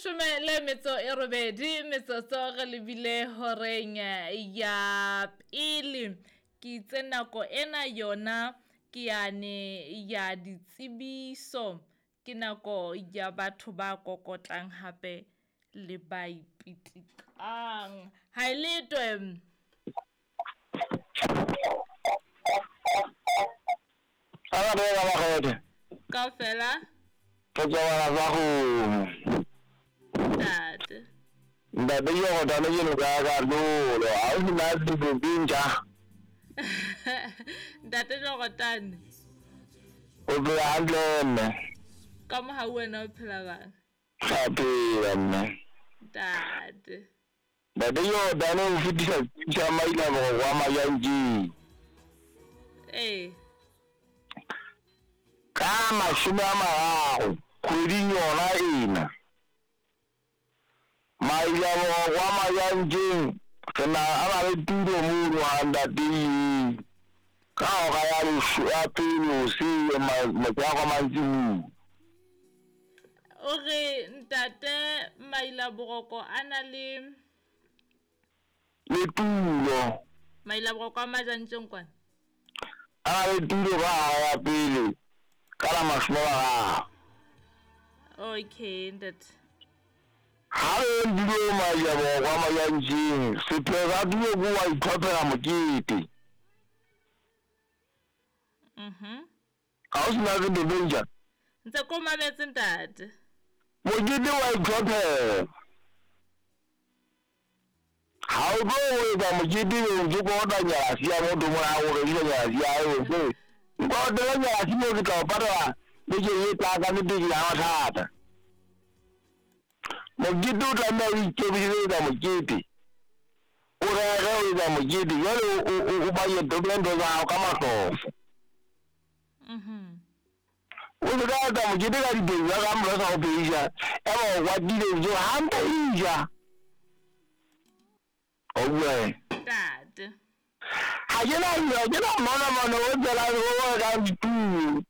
Leshome le metso e robedi metsotso re lebile horeng ya pele. Ke itse nako ena yona ke yane ya ditsebiso, ke nako ya batho ba kokotlang hape le ba ipitikang. Ha e letwe. Kaofela. Re tswabala sa kgomo. Ntate. Ntate ke rotane ke no ka ka lolo. Ha o sena dilo tse ntjha. Ntate Jorotane. O phela hantle mme. Ka mo ha wena o phela bang? Ra phela mme. Ntate. Ntate Jorotane o fetisa tsa maila boroko wa Majantjeng. Ee. Ka 30 kgweding yona ena. Maila boroko wa Majantjeng re na a na le tulo mono ha ntate ka hora ya pele hoseng motshehare wa mantsibuya. O re ntate Maila Boroko a na le le tulo. Maila Boroko a Majantjeng kwana. A na le tulo ka hora ya pele ka la 30. Okay ntate. Ha re ndilo Maila Boroko a Majantjeng sepheo sa tulo ke wa itlhophela mokete. Mhm. Ha o sena se Ntse ko mametse ntate. Mokete wa itlhophela. Ha o tlo o etsa mokete o ntse kolota nyalasi ya motho mona o rekisa nyalasi ya hae o se. Nkolotela nyalasi moo ke tla o patala bekeng e tlang ka nnete ke ya mathata. Mokete o tlameha o ikemisetsa ho etsa mokete. O rere ho etsa mokete jwale o budget o behe ntho tsa hao ka mahlofo. Mhm. O se ka etsa mokete ka dipedi tsa ka mora sa ho pheisa. Eba o kwatile ntse hantle e ja. O bua Ntate. Ha ke na mona mona o tsela o rekang ditulo.